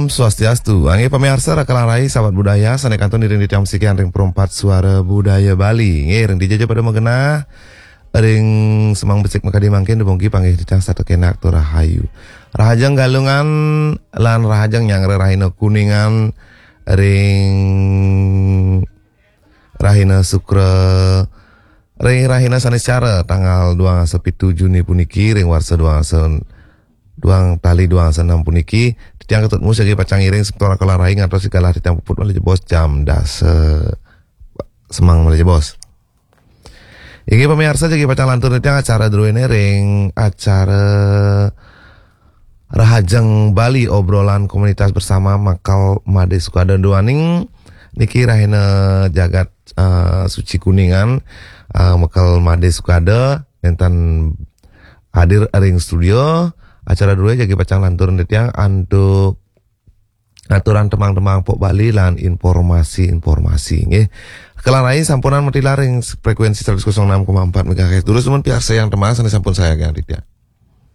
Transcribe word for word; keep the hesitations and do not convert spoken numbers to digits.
Swastiastu. Inggih pamiarsa, Raka lan Rai, sahabat budaya, sané kantun iring titiang sikian ring Perempat Suara Budaya Bali. Inggih, ring dija ja pada magenah, ring semeng becik makadi mangkin, dumugi panggih titiang setata kenak tur rahayu. Rahajeng Galungan lan rahajeng nyanggra rahina Kuningan ring rahina Sukra, ring rahina Saniscara tanggal dua dasa pitu Juni puniki, ring warsa dua dasa, duang tali dua dasa enam puniki, titiang ketut mus jagi pacang ngiring semeton Raka lan Rai ngantos galah titiang puput malih jebos jam dasa semeng malih jebos. Inggih pamiarsa, jagi pacang lantur titiang acara druéné ring acara Rahajeng Bali, obrolan komunitas bersama Mekel Madé Sukada. Duaning niki rahina jagat, eh, suci Kuningan, eh, Mekel Madé Sukada nénten hadir ring studio. Acara drué jagi pacang lantur titiang antuk aturan tembang-tembang pop Bali lan informasi-informasi, nggih. Raka lan Rai sampunang matilar ring frekuensi seratus kosong enam koma empat megahertz. Durus dumun piarsayang tembang sané sampun sayagiang titiang.